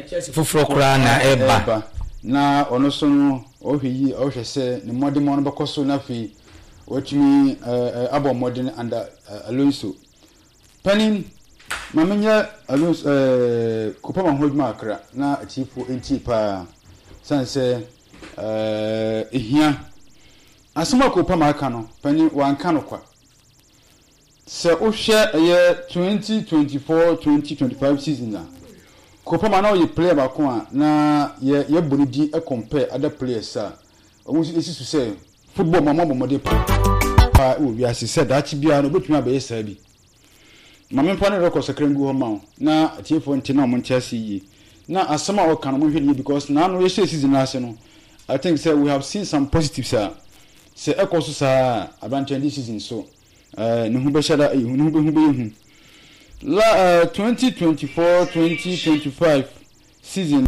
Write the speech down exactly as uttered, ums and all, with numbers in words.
Chelsea foforɔ koraa na ɛba. Na ɔno so no, ɔhwɛ yi, ɔhwɛ sɛ ne mmɔdemmɔ no bɛkɔ so, na afei watumi ɛɛ abɔ mmɔden under Alonso. Panin, ma menyɛ Alonso ɛɛ Kopama ho adwuma akra na atiefo ntie paa, san sɛ ɛɛ ehia asɛm a Kopama aka no. Panin, wanka no kwa. Sɛ wohwɛ ɛyɛ twenty twenty four twenty twenty five season a, Kopama na ɔyɛ player baako a na yɛ yɛbɔ ne din compare other players a wɔn nso esi so sɛ football mu a wɔabɔ mmɔden paa wɔ wiase, sɛ daakye biara no obetumi abɛyɛ saa bi. Maame, mfa ne record sakra ngu hɔ ma wo na atiefoɔ nte na ɔmo nte ase yie, na asɛm a ɔka no, mo hwɛ ne yie, because naano yɛhyɛ season ase no, I think sɛ we have seen some positives a sɛ ɛkɔ so saa aberanteɛ this season so ɛɛ ne ho bɛhyɛ da, ɛyɛ ne ho bɛhu bɛyɛ hu. La ɛɛ twenty twenty four twenty twenty five season